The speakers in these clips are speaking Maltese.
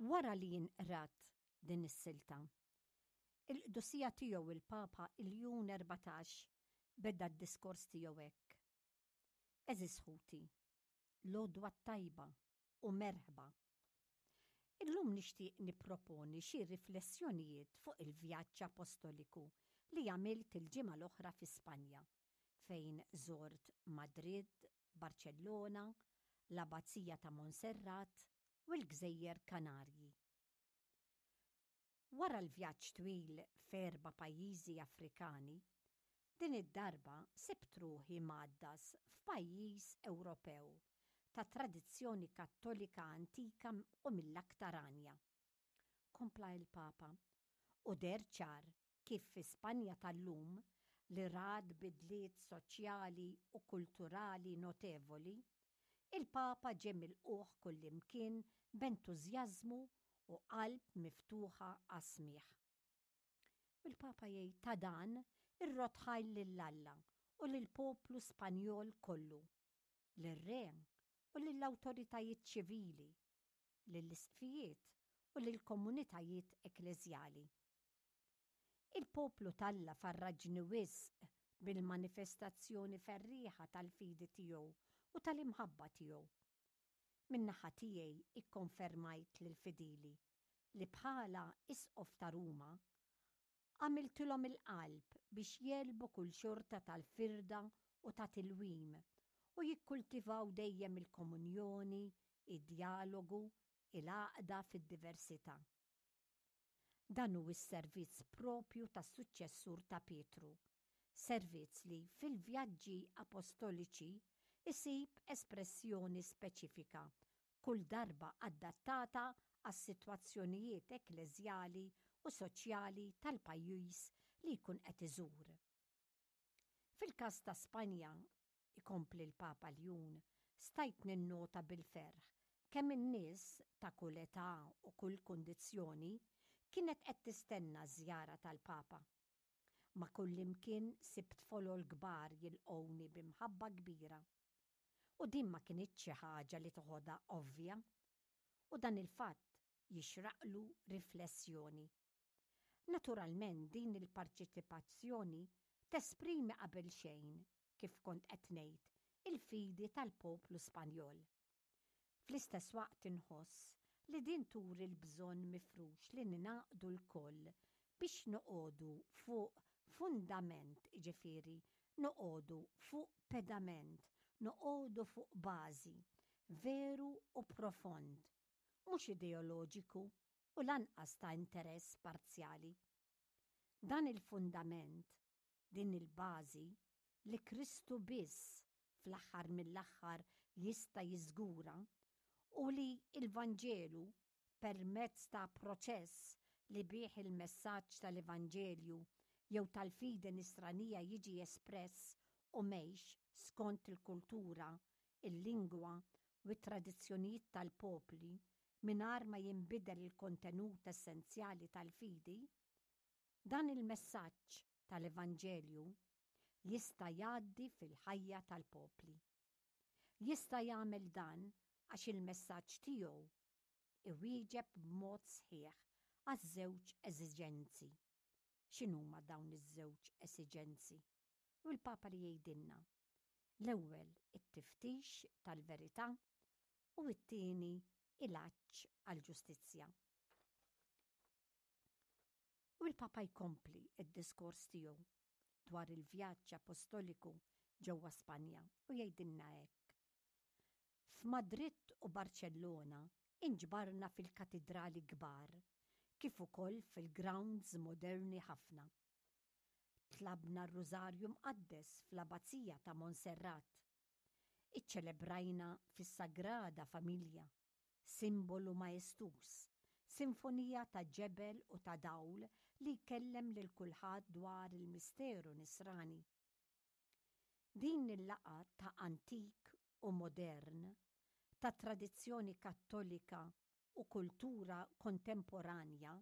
Wara li inqrat din is-silta, il-Qdusija Tiegħu il-Papa Iljun 14 beda d-diskors tiegħu hekk, Għeżież ħuti, l-għodwa t-tajba u merħba. Illum nixtieq nipproponi xi riflessjonijiet fuq il-vjaġġ apostoliku li għamilt il-ġimgħa l-oħra fi Spanja, fejn żort Madrid, Barċellona, l-Abbazija ta' Monserrat u l-Gżejjer Kanarji. Wara l-vjaġġ twil f'erba' pajjiżi Afrikani, din id-darba sibt ruħi mgħaddas f'pajjiż Ewropew ta' tradizzjoni Kattolika antika u mill-aktar għanja. Kompla il-Papa, u deher ċar kif fi Spanja tal-lum, li rat bidliet soċjali u kulturali notevoli, il-Papa ġie milqugħ kullimkien b'entużjażmu u qalb miftuħa għas-smigħ. U l-Papa jgħid ta' dan irrodd ħajr lil Alla u lill-poplu Spanjol kollu, lir-Re u lill-awtoritajiet ċivili, lill-isqfijiet u lill-komunitajiet ekkleżjali. Il-poplu t'Alla farraġni wisq bil-manifestazzjoni ferrieħa tal-fidi tiegħu u tal-imħabba tiegħu. Min-naħa tiegħi ikkonfermajt lill-fidili li bħala Isqof ta' Ruma għamiltilhom il-qalb biex jegħlbu kull xorta tal-firda u ta' tilwim u jikkultivaw dejjem il-komunjoni, id-djalogu, il-għaqda fid-diversità. Dan hu s-servizz proprju tas-suċċessur ta' Pietru, servizz li fil-vjaġġi apostoliċi jsib espressjoni speċifika, kull darba adattata għas-sitwazzjonijiet ekkleżjali u soċjali tal-pajjiż li jkun qed iżur. Fil-każ ta' Spanja, ikompli l-Papa Ljun, stajt ninnota bil-ferħ kemm in-nies ta' kull età u kull kundizzjoni kienet qed tistenna ż-żjara tal-Papa. Ma' kullimkien sibt folol kbar jilqgħuni bi mħabba kbira. U din ma kinitx xi ħaġa li toħodha ovvja. U dan il-fatt jixraqlu riflessjoni. Naturalment din il-parċitipazzjoni tesprimi qabel xejn, kif kont qed ngħid, il-fidi tal-poplu Spanjol. Fl-istess waqt inħoss li din turi l-bżonn mifrux li ningħaqdu lkoll biex noqogħdu fuq fundament, jiġifieri noqogħdu fuq pedament, noqogħdu fuq bażi, veru u profond, mhux ideoloġiku u lanqas ta' interess parzjali. Dan il-fundament, din il-bażi, li Kristu biss fl-aħħar mill-aħħar jista' jiżgura, u li l-Vanġelu, permezz ta' proċess li bih il-messaġġ tal-Evanġelju jew tal-fidi nisranija jiġi espress u mgħix skont il-kultura, il-lingwa u t-tradizzjonijiet tal-popli, mingħajr ma jinbidel il-kontenut essenzjali tal-fidi, dan il-messaġġ tal-Evanġelju jista' jgħaddi fil-ħajja tal-popli. Jista' jagħmel dan għax il-messaġġ tiegħu iwieġeb b'mod sħiħ għaż-żewġ eżiġenzi. X'inhuma dawn iż-żewġ esiġenzi? U l-Papa li jgħidilna, l-ewwel it-tiftix tal-verità u t-tieni il-għatx għall-ġustizzja. U l-Papa jkompli d-diskors tiegħu dwar il-vjaġġ apostoliku ġewwa Spanja u jgħidilna hekk. F'Madrid u Barċellona inġbarna fil-katidrali kbar kif ukoll fil-grounds moderni ħafna. Tlabna r-Rużarju Mqaddes fl-Abbazija ta' Monserrat. Iċċelebrajna fis-Sagrada Familja, simbolu maestuż, sinfonija ta' ġebel u ta' dawl li jkellem lil kulħadd dwar il-misteru Nisrani. Din il-laqgħa ta' antik u modern, ta' tradizzjoni Kattolika u kultura kontemporanja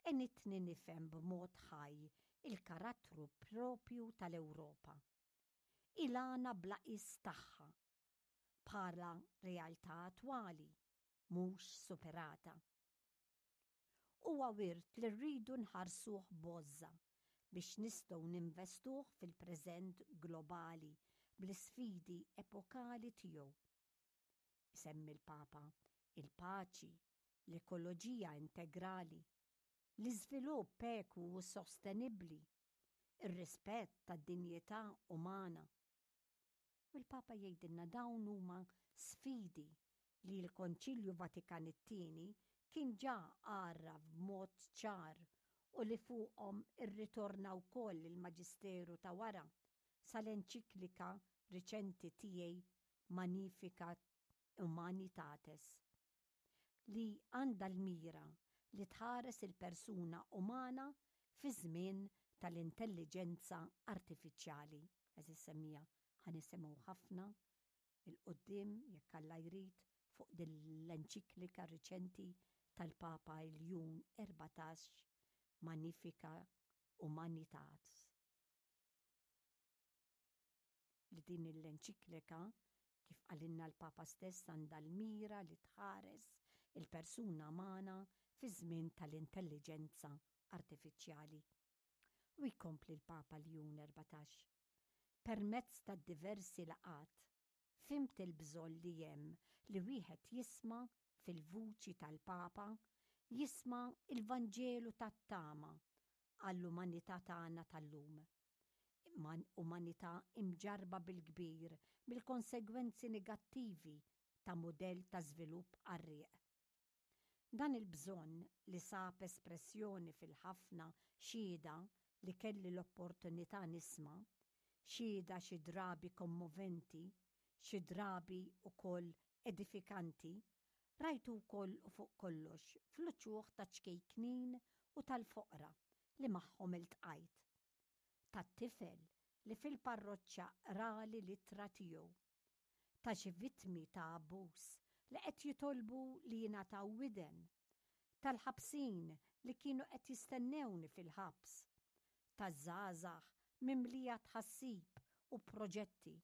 għenitni nifhem b'mod ħaj il-karattru proprju tal-Ewropa. Il-għana bla qies tagħha, bħala realtà attwali, mhux superata. Huwa wirt li rridu nħarsuh b'għożża biex nistgħu ninvestuh fil-preżent globali bl-isfidi epokali tiegħu. Isemmi l-Papa il-paċi, l-ekoloġija integrali, l-iżvilupp ekwu u sostenibbli, ir-rispett tad-dinjità umana. U l-Papa jgħidilna dawn huma sfidi li l-Konċilju Vatikan it-Tieni kien ġa għarraf b'mod ċar u li fuqhom irritorna wkoll il-Maġisteru ta' wara sal-enċiklika riċenti tiegħi Magnificat Humanitatis li għandha l-mira li tħares il-persuna umana fiż-żmien tal-intelliġenza artifiċjali. Għeżież semmiegħa, ħa nisimgħu ħafna 'l quddiem, jekk Alla jrid, fuq din l-enċiklika riċenti tal-Papa Ljun 14 Magnifica Humanitatis. Li din l-enċiklika, kif qalilna l-Papa stess, għandha l-mira li tħares il-persuna umana fiż-żmien tal-intelliġenza artifiċjali. U jkompli l-Papa Ljun 14, Permezz tad-diversi laqgħat, fhimt il-bżonn li hemm li wieħed jisma' fil-vuċi tal-Papa, jisma' l-Vanġelu tat-tama għall-umanità tagħna tal-lum. Umanità imġarrba bil-kbir mill-konsegwenzi negattivi ta' mudell ta' żvilupp qarrieq. Dan il-bżonn, li sab espressjoni fil-ħafna xhieda li kelli l-opportunità nisma', xhieda xi drabi kommoventi, xi drabi wkoll edifikanti, rajtu wkoll u fuq kollox fl-uċuħ taċ-ċkejknin u tal-foqra li magħhom iltqajt. Tat-tifel li fil-parroċċa qrali l-ittra tiegħu. Ta' xi vittmi ta' abbuż li qed jitolbu li jingħataw widen. Tal-ħabsin li kienu qed jistennewni fil-ħabs. Taż-żgħażagħ mimlija tħassib u proġetti.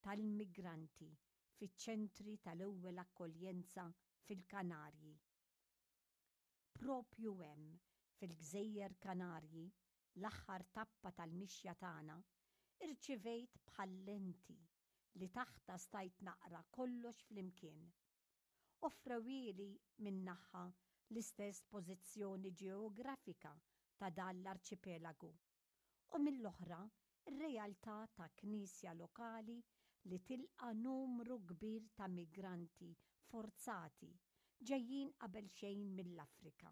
Tal-immigranti fiċ-ċentri tal-ewwel akkoljenza fil-Kanarji. Proprju hemm, fil-Gżejjer Kanarji, l-aħħar tappa tal-mixja tagħna, irċivejt bħal lenti li taħtha stajt naqra kollox flimkien. Offrewhieli minn naħa l-istess pożizzjoni ġeografika ta' dan l-arċipelagu u mill-oħra r-realtà ta' Knisja lokali li tilqa' numru kbir ta' migranti forzati ġejjin qabelxejn mill-Afrika.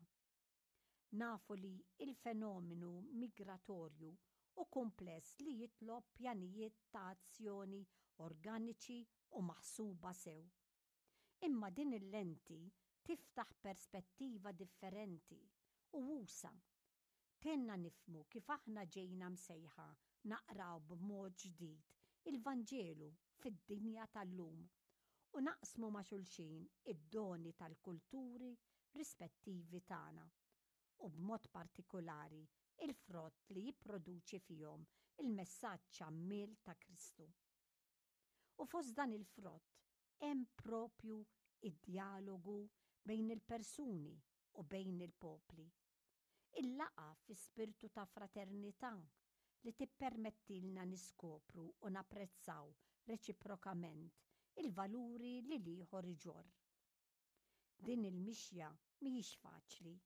Nafu li l-fenomenu migratorju hu kumpless li jitlob pjanijiet ta' azzjoni organiċi u maħsuba sew. Imma din il-lenti tiftaħ perspettiva differenti u usa'. Tgħinna nifhmu kif aħna ġejna msejħa naqraw b'mod ġdid il-Vanġelu fid-dinja tal-lum u naqsmu ma' xulxin id-doni tal-kulturi rispettivi tagħna u b'mod partikulari l-frott li jipproduċi fihom il-messaġġ għammiel ta' Kristu. U fost dan il-frott hemm proprju d-djalogu bejn il-persuni u bejn il-popli. Il-laqgħa fi spirtu ta' fraternità li tippermettilna niskopru u napprezzaw reċiprokament il-valuri li l-ieħor iġorr. Din il-mixja mhijiex faċli.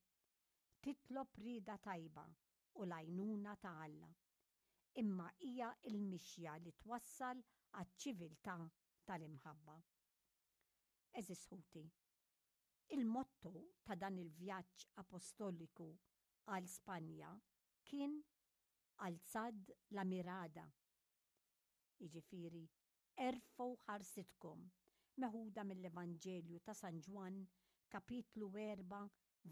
Titlob rieda tajba u l-għajnuna ta' Alla. Imma hija l-mixja li twassal għaċ-ċiviltà tal-imħabba. Għeżież ħuti, il-motto ta' dan il-vjaġġ apostoliku għal Spanja kien Alzad la mirada, jiġifieri erfgħu ħarsitkom, meħuda mill-Evanġelju ta' San Ġwann kapitlu 4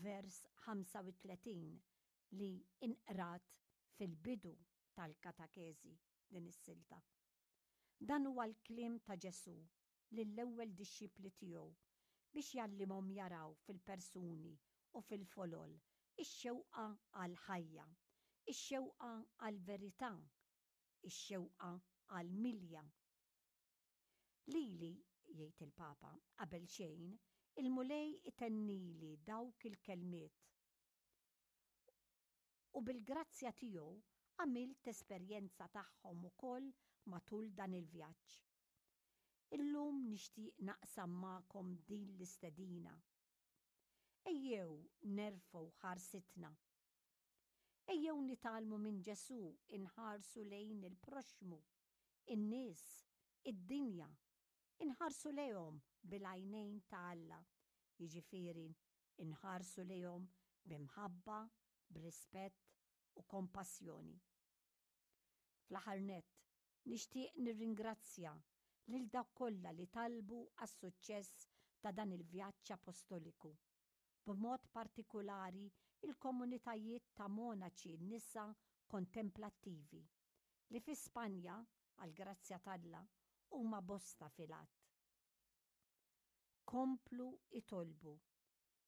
vers 35 li inqrat fil-bidu tal-katakeżi din is-silta. Dan huwa l-kliem ta' Ġesù lill-ewwel dixxipli tiegħu biex jgħallimhom jaraw fil-persuni u fil-folol ix-xewqa għall-ħajja, ix-xewqa għall-verità, ix-xewqa għall-milja. Lili, jgħid il-Papa, qabelxejn, il-Mulej itennili dawk il-kelmiet. U bil-grazzja tiegħu għamilt esperjenza tagħhom ukoll matul dan il-vjaġġ. Illum nixtieq naqsam magħkom din l-istedina. Ejjew nerfgħu ħarsitna. Ejjew nitgħallmu minn Ġesù inħarsu lejn il-proxxmu, in-nies, id-dinja, inħarsu lejhom bil-għajnejn ta' Alla, jiġifieri nħarsu lejhom bi mħabba, b'rispett u kompassjoni. Fl-aħħar nett, nixtieq nirringrazzja lil dawk kollha li talbu għas-suċċess ta' dan il-vjaġġ apostoliku, b'mod partikulari l-komunitajiet ta' monaċi nisa kontemplattivi, li fi Spanja, għall-grazzja t'Alla, huma bosta fil-għadd. Komplu itolbu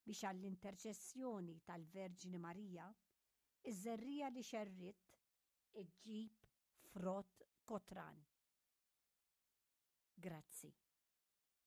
biex għall-interċessjoni tal-Verġni Marija, iż-żerriegħa li xerridt iġġib frott kotran. Grazzi.